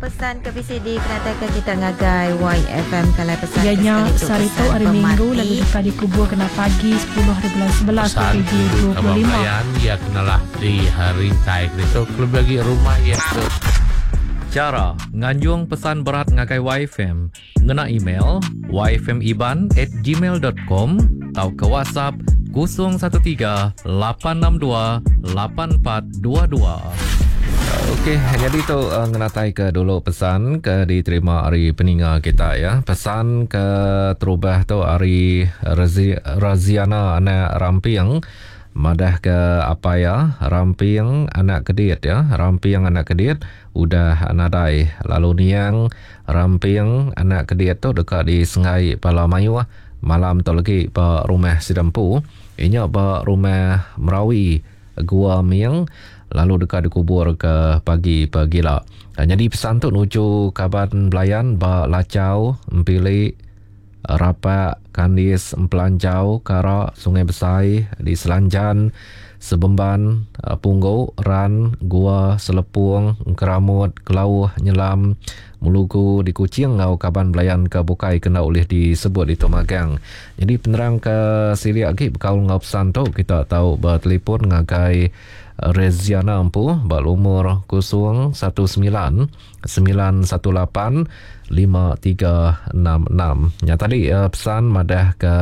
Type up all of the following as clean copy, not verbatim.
pesan ke bisi dikenataika kita ngagai YFM kalai pesan Iya ke nya sekali tu sehari tu pesan hari Minggu pemati. lalu deka dikubur kena pagi 10 haribulan 11 Pesan tuju kaban 2025. belayan iya kenalah di rintai ke ditu kelebih agi rumah iya ke Chara nganjung pesan berat ngagai YFM ngena email yfmiban at gmail dot com tauka WhatsApp 013 862 8422. Okey, nyadi tu ngenatai ke dulu pesan ke diterima ari peninga kita ya. Pesan ke terubah tu ari Raziana anak Ramping madah ke apai iya Ramping anak Kedit ya. Ramping anak Kedit udah nadai lalu niang Ramping anak Kedit tu deka disenggai bala mayuh malam tu legi ba rumah sida empu. Inya ba rumah Merawi Gua Ming lalu deka dikubur ke pagi pegila. Nyadi pesan tu nuju kaban belayan ba Lachau, Empili, Rapak, Kandis, Empelanjau, Kara, Sungai Besai, di Selanjan, Sebemban, Punggu, Ran, Gua, Selepung, Engkeramut, Kelauh, Nyelam, Melugu di Kuching enggau kaban belayan ke bukai ke enda ulih disebut ditu magang. Nyadi penerang ke silik agi bekaul enggau pesan tu kita tau betelefon ngagai Reziana empu ba lumur 019 918 5366. Nya tadi pesan madah ke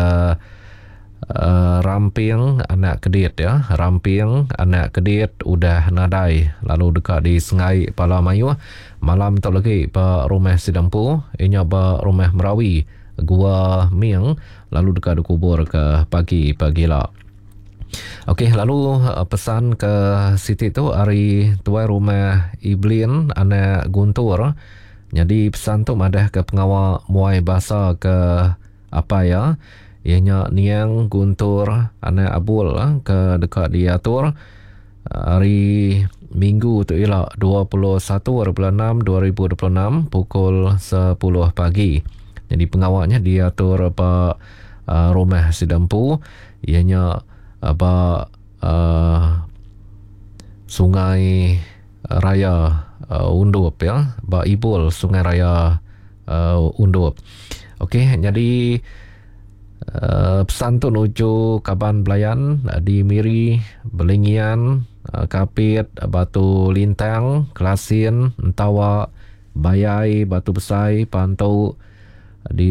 Ramping anak Kedit ya. Ramping anak Kedit udah nadai lalu deka disengai pala mayuh malam tu lagi ba rumah sida empu inya ba rumah Merawi Gua Ming lalu deka dikubur ke pagi pagila. Okey lalu pesan ke siti tu ari tuai rumah Iblin anak Guntur. Nyadi pesan tu madah ke pengawa muai basa ke Apai iya, iya nya Niang Guntur anak Abul ke deka diatur hari Minggu tu ila 21 hari bulan 6 2026 pukul 10 pagi. Jadi pengawa nya diatur ba rumah sida empu iya nya ba Sungai Raya Undup ya ba Ibul Sungai Raya Undup. Okey nyadi uh, pesan tu nuju kaban belayan di Miri, Belingian, Kapit, Batu Lintang, Kelasin, Entawa, Bayai, Batu Besai, Pantu di.